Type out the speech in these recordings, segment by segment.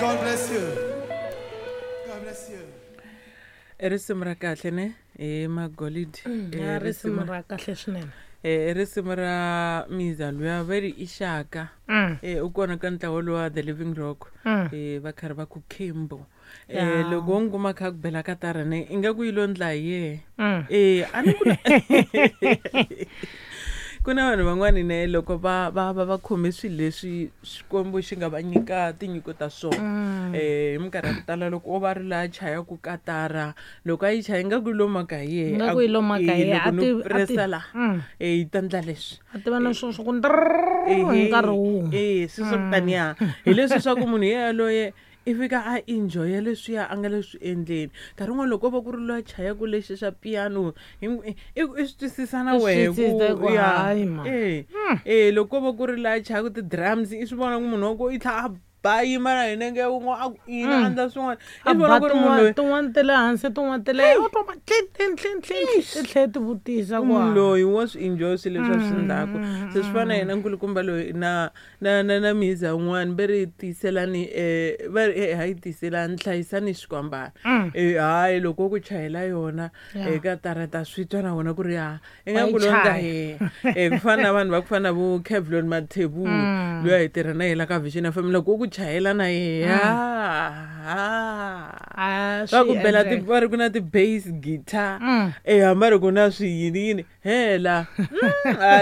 God bless you. God bless you. I risimu ra kahle ne hi magolidi. Ya risimu ra kahle swinene. I risimu ra miza luya va ri i xaka. U kona ka ntlawa lowa The Living Rock. Va karhi va ku Kimbo. Loko wo n'wi kuma kha ku bela katara ne ingaku yi lo ndla hi yehe. A ni ku ku na vanhu van'wani ne loko va va va va khome swilo leswi Xikwembu xi nga va nyika tinyiko ta swona. Hi minkarhi ya ku tala loko o va ri laha chayaku katara loko a yi chaya ingaku yi lo maka hi yehe. Ingaku yi lo maka hi yehe. Loko A no ti- a ti- pressa la, yi ta ndla leswi. A tiva na swilo swa ku ndrrr hi nkarhi wun'we. Swilo swa ku taniya. Hi leswi swa ku munhu yaloye i fika a enjoya leswiya a nga le swi endleni. Nkarhi wun'wani loko ko va ku ri loyi a chayaka lexi xa piano i swi twisisa na I swi wehe ku twisisa ku ya. hayi man. Loko ko va ku ri loyi a chayaka ti-drums i swi vona ku munhu wa ku i tlhela a ba yima na hi nenge wun'we a ku ina a endla swin'wana. I A swi vona ba ku ri munhu loyi tin'wana ta le hansi tin'wana ta le u twa va tlin tlin tlin tlin ti tlhela ti vutisa ku munhu ha. loyi wa swi enjoy swilo leswi a swi endlaku. Se swi fana na yena nkulukumba loyi na na na na miza wun'wani va ri tiyiselani va ri hayi tiyiselani hlayisani xikwambana. Hayi loko ku chayela yona eka tarata swi twa na wona ku ri ha ingaku Wa yi lo ndla chaya. yehe. Ku fana na vanhu va ku fana na vo Kevlon Mathebula loyi a hi tirha na yena ka Vision FM loko ku chayela na yehe A va ku swi bela ti endleka. va ri ku na ti-bass guitar. Hambi a ri ku na swiyini yini hela.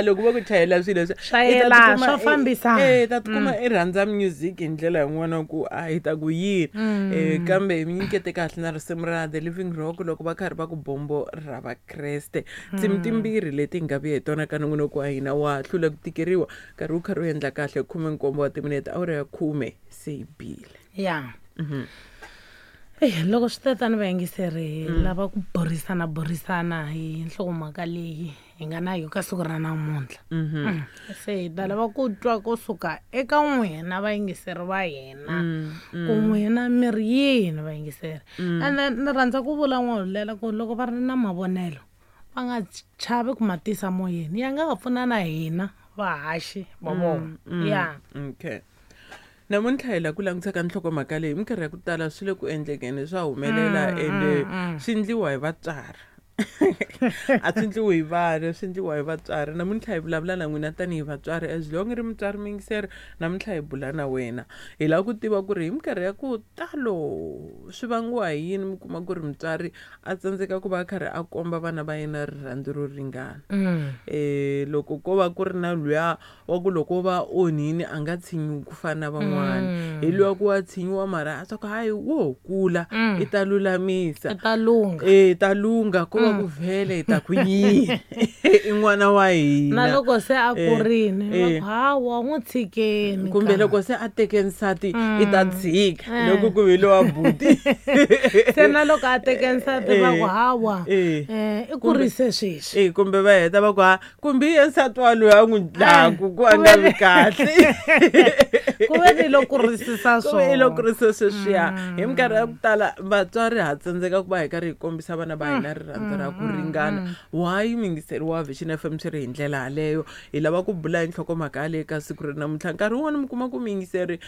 Loko va ku chayela swilo leswi, Swa i ta yelana, tikuma swa fambisana. i ta tikuma i rhandza music hi ndlela yin'wana ku a hi ta ku yini. Kambe hi mi nyikete kahle na risimu ra The Living Rock loko va karhi va ku bombo ra Vakreste. Tinsimu timbirhi leti hi nga vuya hi tona ka nongonoko wa hina wa hlula ku tikeriwa nkarhi wu karhi wu endla kahle 17 wa timinete awara ya 10 se yi bile. Ya. Loko swi ta tani vayingiseri hi lava ku burisana burisana hi nhlokomhaka leyi hi nga na yo ka siku ra namuntlha. Se hi ta lava ku twa kusuka eka n'wina vayingiseri va hina. Ku n'wina mi ri yini vayingiseri. And then ni rhandza ku vula n'wahulela ku loko va ri na mavonelo va nga chavi ku ma tisa moyeni ya nga va pfuna na hina vahaxi va vona. Ya. Okay. Namuntlha hi la ku langutisa ka nhlokomhaka leyi minkarhi ya ku tala swi le ku endlekeni swa humelela ende swi endliwa hi vatswari. A swi endliwi hi vana, swi endliwa hi vatswari. Namuntlha hi vulavula na n'wina tanihi vatswari as long ri mutswari muyingiseri namuntlha hi bula na wena. Hi lava ku tiva ku ri hi minkarhi ya ku talo swi vangiwa hi yini mi kuma ku ri mutswari a tsandzeka ku va a karhi a komba vana va yena rirhandzu ro ringana. Loko ko va ku ri na luya wa ku loko va onhini a nga tshinyiwi ku fana na van'wana. Hi luya ku wa tshinyiwa mara a swa ku hayi wo kula i ta lulamisa. I ta lungha. I ta lungha ko va ku vhele hi ta ku yini. I n'wana wa hina. Na loko se a kurile, va ku hawa n'wi tshikeni Kumbe ka. loko se a teke nsati i ta tshika loko ku ve lowa buti. Se na loko a teke nsati va ku hawa, i kurise sweswi. Kumbe va heta va ku ha kumbe i ye nsati wa loyi a n'wi dlaku ku a nga vi kahle. Ku ve ni lo kurisisa Ku ve i lo swona. kurisa sweswiya. Hi minkarhi ya ku tala vatswari ha tsandzeka ku va hi karhi hi kombisa vana va hina rirhandzu ra ku ringana. Why muyingiseri wa Vision FM swi ri hi ndlela yaleyo? Hi lava ku bula hi nhlokomhaka yaleyo ka siku ra namuntlha. Nkarhi wun'wani mi kuma ku muyingiseri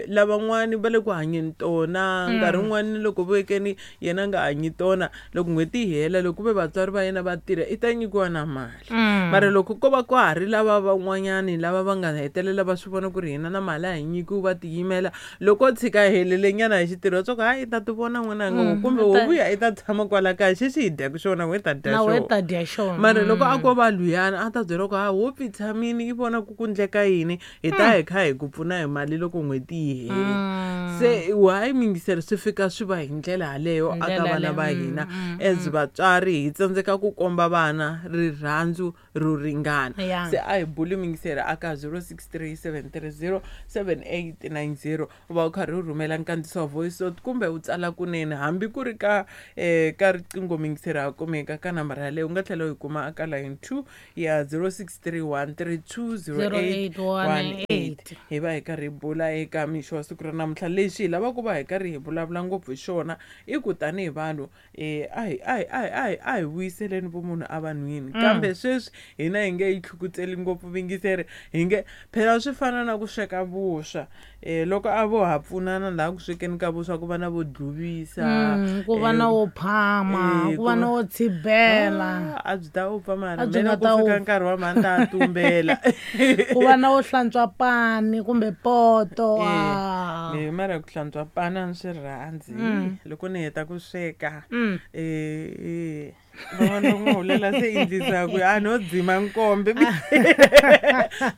lavan'wani va le ku hanyeni tona. Nkarhi wun'wani loko vekeni yena a nga hanyi tona loko n'hweti yi hela loko ku ve vatswari va yena va tirha i ta nyikiwa na mali. Mara loko ko va ka ha ri lava van'wanyani lava va nga hetelela va swi vona ku ri hina na mali a hi nyikiwi va tiyimela loko o tshika helele nyana hi xitirho swa ku hayi i ta ti vona n'wananga kumbe wo vuya i ta tshama kwala kaya xexi hi dyaku xona we ta dya Na we xona. ta dya xona. Mara loko a ko va luyana a ta byela ku ha wo pfi tshamini i vona ku ku ndleka yini hi ta hi kha hi ku pfuna hi mali loko n'hweti yi hela. Se why muyingiseri swi fika swi va hi ndlela yaleyo aka Ndlela vana va yaleyo. hina as vatswari hi tsandzeka ku komba vana rirhandzu ro ringana. Se a hi buli muyingiseri aka 0637307890 u va u karhi u rhumela nkandziso wa voice note kumbe u tsala kunene hambi ku ri ka ka riqingho muyingiseri. Muyingiseri ha kumeka ka nambara yaleyo. U nga tlhela u yi kuma aka line 2 ya 0631320818. Hi va hi karhi hi bula eka mixo wa siku ra namuntlha. Lexi hi lava ku va hi karhi hi vulavula ngopfu hi xona i ku tanihi vanhu a hi vuyiseleni vumunhu evanhwini. Kambe sweswi hina hi nge yi tlhukutseli ngopfu vuyingiseri, hi nge phela swi fana na ku sweka vuswa. Loko a vo ha pfunana laha ku swekeni ka vuswa ku va na vo dluvisa, ku va na wo phama, ku va na wo tshibela, a byi ta upfa mara mina ku fika nkarhi wa mhani ta tumbela, ku va na wo hlantswa pani kumbe poto. Mara ku hlantswa pani a ni swi rhandzi. Loko ni heta ku sweka van'wana va n'wi hulela se endlisa ku a no dzima nkombe.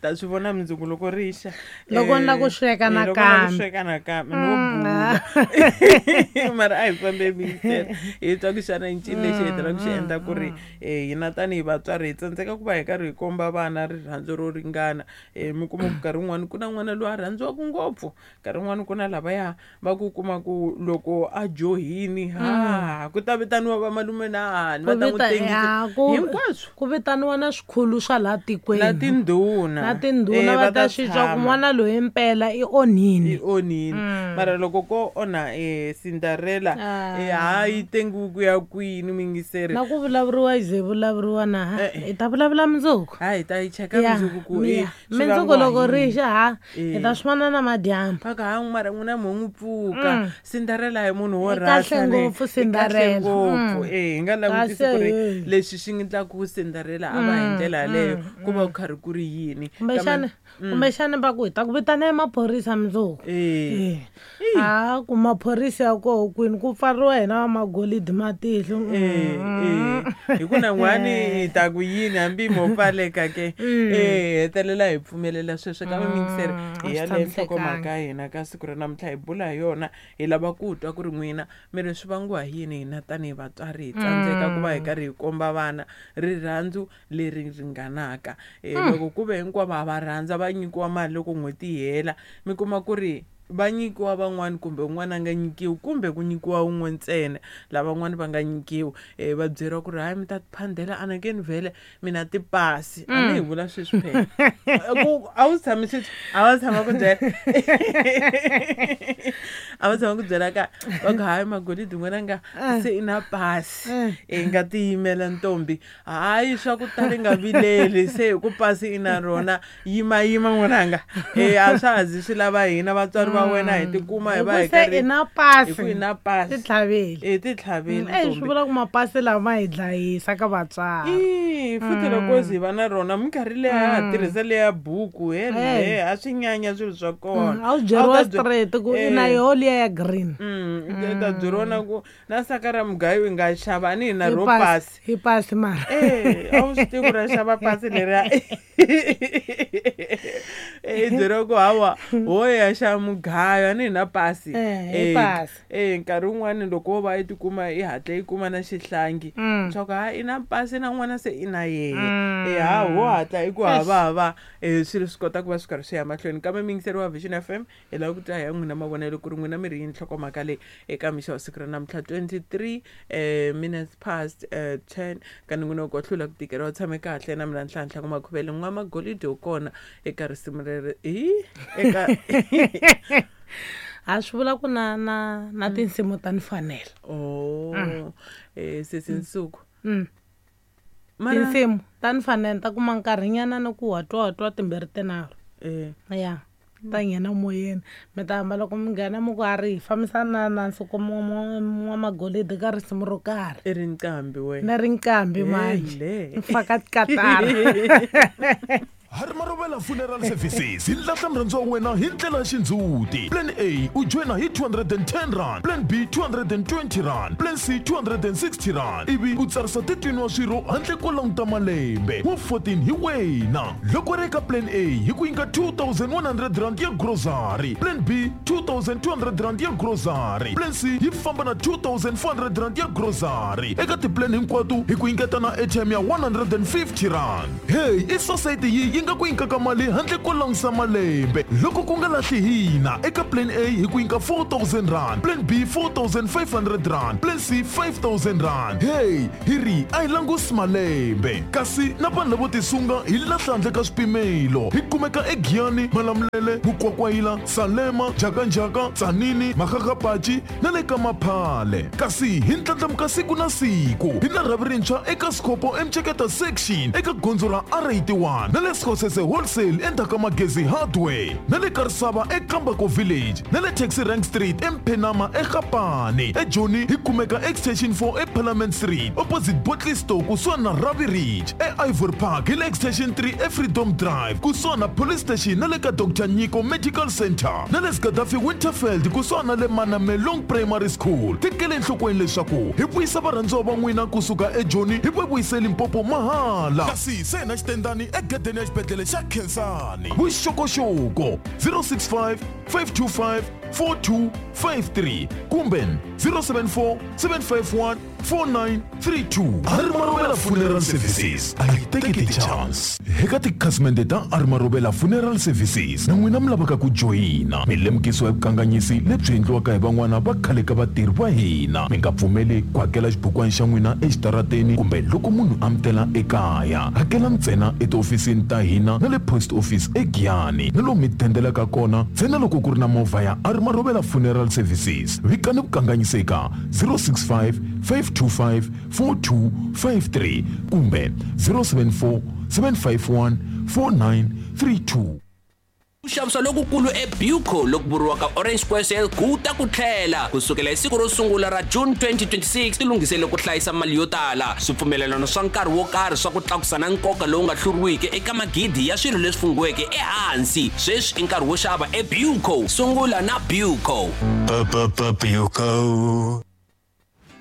Ta swi vona mundzuku loko ri xa. Loko ni la ku sweka nakambe no bula. Mara a hi fambe mingisela hi twa ku xana i ncini lexi hetelelaka xi endla ku ri hina tanihi vatswari hi tsandzeka ku va hi karhi hi komba vana rirhandzu ro ringana. Mi kuma ku nkarhi wun'wani ku na n'wana loyi a rhandziwaka ngopfu, nkarhi wun'wani ku na lavaya va ku kuma ku loko a johini ha ku ta vitaniwa vamalume na va ta n'wi tengisa hinkwaswo, ku vitaniwa na swikhulu swa laha tikweni na tindhuna va ta swi twa ku n'wana loyi impela i onhini. Mara loko ko onha Cinderella ha yi tengiwi ku ya kwini mingiseri. Na ku vulavuriwa yi ze vulavuriwa na hi ta vulavula mundzuku. Ha hi ta yi cheka mundzuku ku mundzuku loko ri xa ha hi ta swi vona na madyambu. Phaka ha mara n'wina mo n'wi pfuka. Cinderella hi munhu wo rhasa ngopfu Cinderella ngopfu. Hi nga langutisi ku ri leswi swi endlaka ku Cinderella a va hi ndlela yaleyo ku va ku karhi ku ri yini. Kumbexana va ku hi ta ku vitana emaphorisa mundzuku. A ku maphorisa ya koho kwini ku pfariwa hina va magolidi matihlo. Hi ku na n'wani hi ta ku yini hambi mo pfaleka ke. Hetelela hi pfumelela sweswo ka mingiseri. Hi yaleyo nhlokomhaka ya hina ka siku ra namuntlha hi bula hi yona. Hi lava ku twa ku ri n'wina mi ri swi vangiwa hi yini hina tanihi vatswari hi tsandzeka ku va hi karhi hi komba vana rirhandzu leri ringanaka. Loko ku ve hinkwavo a va rhandza va nyikiwa mali loko n'hweti yi hela, mi kuma ku ri va nyikiwa van'wani kumbe un'wana a nga nyikiwi kumbe ku nyikiwa un'we ntsena, lavan'wani va nga nyikiwi. Va byeriwa ku ri hayi mi ta tiphandela anakeni vhele mina tipasi. A ni hi vula sweswi phela ku a wu tshami sweswi, a va tshama ku byela a va tshama ku byela ka va ku hayi magolidi n'wana nga se i na pasi, i nga tiyimela ntombi, hayi swa ku tala i nga vileli se hi ku pasi i na rona, yima yima n'wananga. A swa ha zi swi lava hina vatswari va wena hi tikuma hi va hi karhi na pasi, hi ku na pasi titlhaveli titlhaveli. Swi vula ku mapasi lama hi dlayisa ka vatswari. Futhi loko zi va na rona minkarhi leyi a ha tirhisa leya buku hele a swi nyanya swilo swa kona. A wu byeriwa straight ku i na yoho liya ya green. Ta byeriwa na ku na saka ra mugayo i nga xava a ni hi na ro pasi. Hi pasi mara. A wu swi tivi ku ra xava pasi leriya. Byeriwa ku hawa ho ya xava mugayo a ni hi na pasi. Nkarhi wun'wani loko wo va i tikuma i hatla i kuma na xihlangi swa ku ha i na pasi na n'wana se i na yehe. Ha ho hatla i ku havahava swilo swi kota ku va swi karhi swi ya mahlweni. Kambe muyingiseri wa Vision FM hi lava ku twa hi ya n'wina mavonelo ku ri n'wina mi ri yini nhlokomhaka leyi eka mixo wa siku ra namuntlha 23 minutes past 10. Ka ni n'wina ku hlula ku tikeriwa tshame kahle na mina Nhlanhla ku Makhuvele n'wa magolidi yo kona eka risimu leri eka a swi vula ku na na na tinsimu ta ni fanela. Sesi Nsuku. Tinsimu ta ni fanela ta kuma nkarhinyana ni ku watwa timbirhi tinharhu. Ya ta nghena moyeni mi ta hamba loko mi nghena mi ku a ri hi fambisana na Nsuku n'wa magolidi ka risimu ro karhi. I ri nqambi wena. Ni ri nqambi manje. Ni faka tikatara. Harimarovela Funeral Services hi lahla murhandziwa wa wena hi ndlela ya xindzhuti. Plan A u joyina hi 210 rand, Plan B 220 rand, Plan C 260 rand, ivi u tsarisa 13 wa swirho handle ko languta malembe wa 14 hi wena. Loko ri eka Plan A hi ku nyika 2100 rand ya grocery, Plan B 2200 rand ya grocery, Plan C yi famba na 2400 rand ya grocery. Eka tiplan hinkwato hi ku nyiketa na airtime ya 150 rand. Hey, i society yi nga ku nyikaka mali handle ko langutisa malembe. Loko ku nga lahli hina eka plan A hi ku nyika 4000 rand, plan B 4500 rand, plan C 5000 rand. Hey, hi ri a hi langusi malembe. Kasi na vanhu lavo tisunga hi lahla handle ka swipimelo. Hi kumeka eGiyani, Malamulele, Mukwakwayila, Salema, Njhakanjhaka, Tzaneen, Makgakgapachi na le ka Maphale. Kasi hi ndlandlamuka siku na siku. Hi na rhavi rintshwa eka Skhopho eMceketa section eka gondzo ra R81 na le Skhosese wholesale endzhaku ka Magezi Hardware na le Karisava eKambako Village na le Taxi Rank Street eMphenama eGapane. EJoni hi kumeka Extension 4 eParliament Street opposite Bottle Store kusuhani na Ravi Ridge. E-Ivory Park hi le Extension 3 eFreedom Drive kusuhani na Police Station na le ka Dr Nyiko Medical Center na le Gaddafi Winterfeld kusuhani na le Manamelong Primary School. Tekele enhlokweni leswaku hi vuyisa varhandziwa va n'wina kusuka eJoni hi va vuyise Limpopo mahala. Kasi se na xitendani egedeni ya xibedhlele xa Khensani. Vuxokoxoko 065 525 4253 kumbe 074 751 4932. Arimarovela Funeral Services a yi teki ti-chance. Eka tikhasimende ta Arimarovela Funeral Services na n'wina mi lavaka ku joyina, mi lemukisiwa hi vukanganyisi lebyi endliwaka hi van'wana va khale ka vatirhi va hina. Mi nga pfumeli ku hakela xibukwana xa n'wina exitarateni kumbe loko munhu a mi tela ekaya. Hakela ntsena etihofisini ta hina na le post office eGiyani na lomu mi dendelaka kona ntsena loko ku ri na movha ya Arimarovela Funeral Services. Vikani vukanganyisi eka 065 525 4253 kumbe 074 751 4932. Ku xavisa lokukulu eBuco loku vuriwaka Orange Square Sale ku ta ku tlhela kusukela hi siku ro sungula ra June 2026. Tilunghisele ku hlayisa mali yo tala, swipfumelelano swa nkarhi wo karhi swa ku tlakusa na nkoka lowu nga hluriwiki eka magidi ya swilo leswi funghiweke ehansi. Sweswi i nkarhi wo xava eBuco. Sungula na Buco. Buco.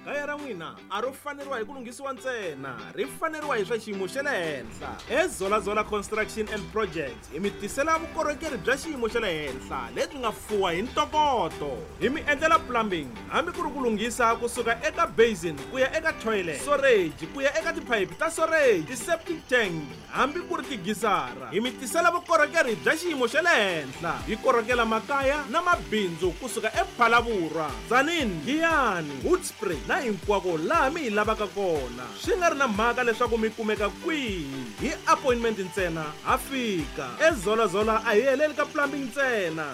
Kaya ra n'wina a ro faneriwa hi ku lunghisiwa ntsena, ri faneriwa hi swa xiyimo xa le henhla. EZolazola Construction and Projects hi mi tisela vukorhokeri bya xiyimo xa le henhla lebyi nga fuwa hi ntokoto. Hi mi endlela plumbing hambi ku ri ku lunghisa kusuka eka basin ku ya eka toilet, storage ku ya eka tiphayiphi ta storage, ti-septic tank hambi ku ri tigisara. Hi mi tisela vukorhokeri bya xiyimo xa le henhla. Hi korhokela makaya na mabindzu kusuka ePhalaborwa, Tzaneen, Giyani, Hoedspruit na hinkwako laha mi hi lavaka kona. Swi nga ri na mhaka leswaku mi kumeka kwihi, hi appointment ntsena ha fika. EZolazola a hi heleli ka plumbing ntsena.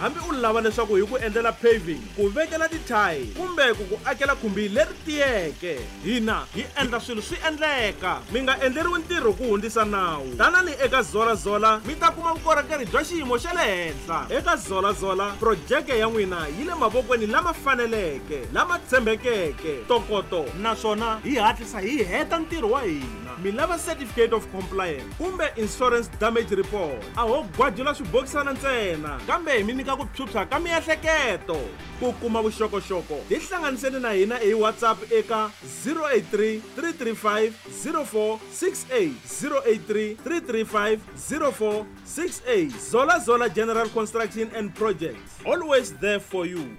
Hambi u lava leswaku hi ku endlela paving, ku vekela tithayili kumbe ku ku akela khumbi leri tiyeke, hina hi endla swilo swi endleka. Mi nga endleriwi ntirho ku hundzisa nawu. Tanani eka Zolazola mi ta kuma vukorhokeri bya xiyimo xa le henhla. Eka Zolazola projeke ya n'wina yi le mavokweni lama faneleke, lama tshembekeke, ntokoto, naswona hi hatlisa hi heta ntirho wa hina. Mi lava certificate of compliance kumbe insurance damage report, a ho gwajula swibokisana ntsena, kambe hi mi nyika ku phyuphya ka miehleketo. Ku kuma vuxokoxoko tihlanganiseni na hina hi WhatsApp eka 083 335 0468, 083 335 0468. Zola Zola General Construction and Projects, always there for you.